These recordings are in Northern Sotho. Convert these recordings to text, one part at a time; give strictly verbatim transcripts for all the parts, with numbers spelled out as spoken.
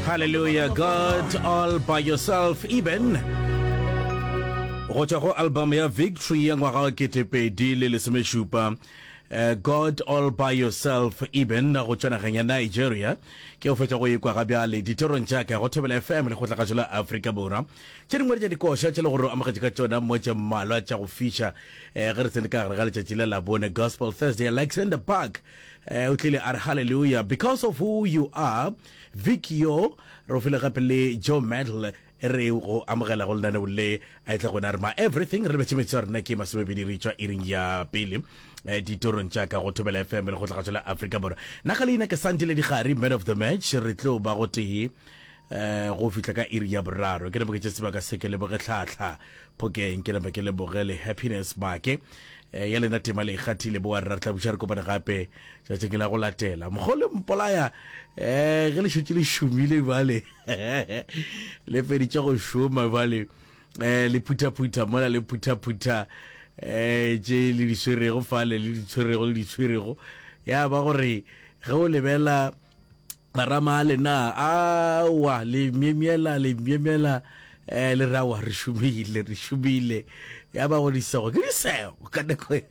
Hallelujah, God all by yourself, Eben. Go tšwa go album ya Victory ya ngwaga wa ketepedi le lesomešupa. Uh, God all by yourself, Eben, go tšwa nageng ya Nigeria. Ke go fetša go ekwa ga bjale ditorong tša ka go Thobela F M le kgotlagašo la Afrika Borwa. Tše dingwe tša dikoša tše le gore o amogetše ka tšona mo tše mmalwa tša go fiša eh, ge re tsene ka gare ga letšatši la Labone, Gospel Thursday. Alexander Park eh, o tlile a re hallelujah because of who you are. Vic yo re o file gape le Joe Medal e re go amogela go lenaneo le a etla gona re ma everything. Re lebetše metsotso ya rena ke masomepedi re tšwa iring ya pele eh, ditorong tša ka go Thobela F M le go tlagatšo la Afrika Borwa. Nna ka leina ke Santile Digari, man of the match. Re tlo ba go tee eh go fihla ka iri ya boraro. Ke leboge sebaka se, ke leboge Tlhatlha Phokeng, ke leboge ke leboge le Happiness Make eh, ya lena tema le ikgathile boa rra. Re tla buša re kopane gape tšatšing la go latela. Mogole mpolaya eh ge le šetše le šomile bale, le feditše go šoma bale, eh le phuthaphutha mola le phuthaphutha eh tše le di swerego fale, le di tshwerego le di tshwerego, ya ba gore ge o lebela marama a lena awa, le myemyela, le myemyela eh le rawa, re šomile, re šomile, ya ba go disego ke disego ka nako.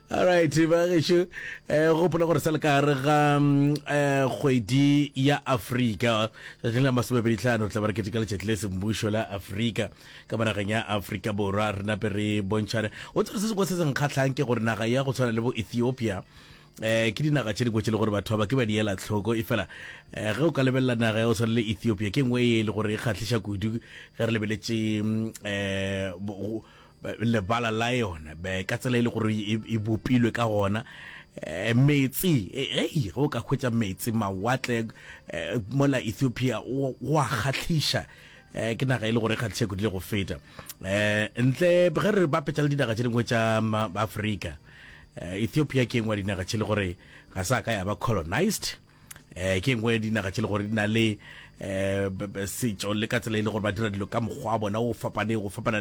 Alright ba gešo, eh gopola gore sa le ka gare ga mm, eh kgwedi ya Afrika, tšatšing la masomepedi tlhano tla ba re keteka letšatši le semmušo la Afrika ka mo nageng ya Afrika Borwa. Re nape re bontšhane o tsere se sengwe se se nkgatlhang ke gore naga ya go tshwana le bo Ethiopia eh ke dinaga tše dingwe tše le gore batho ba ke ba di ela tlhoko e fela eh, ge o ka lebelela naga ya go tshwana le Ethiopia, ke nngwe e le gore e kgahliša kudu ge re lebeletše mm, eh bo- lebala la yona be ka tsela e le gore e e bopilwe ka gona eh, metsi eh, ei, ge o ka hwetša metsi mawatle eh, mola Ethiopia o o a kgahliša eh ke naga e le gore e kgahliša kudu le go feta eh ntle ge re bapetša le dinaga tše dingwe tša ma- Afrika. eh, Ethiopia ke engwe ya dinaga tše le gore ga sa ka ya ba colonized eh ke engwe ya dinaga tše le gore di na le eh b- b- setšo le ka tsela e le gore ba dira dilo ka mokgwa wa bona o fapaneng go fapana.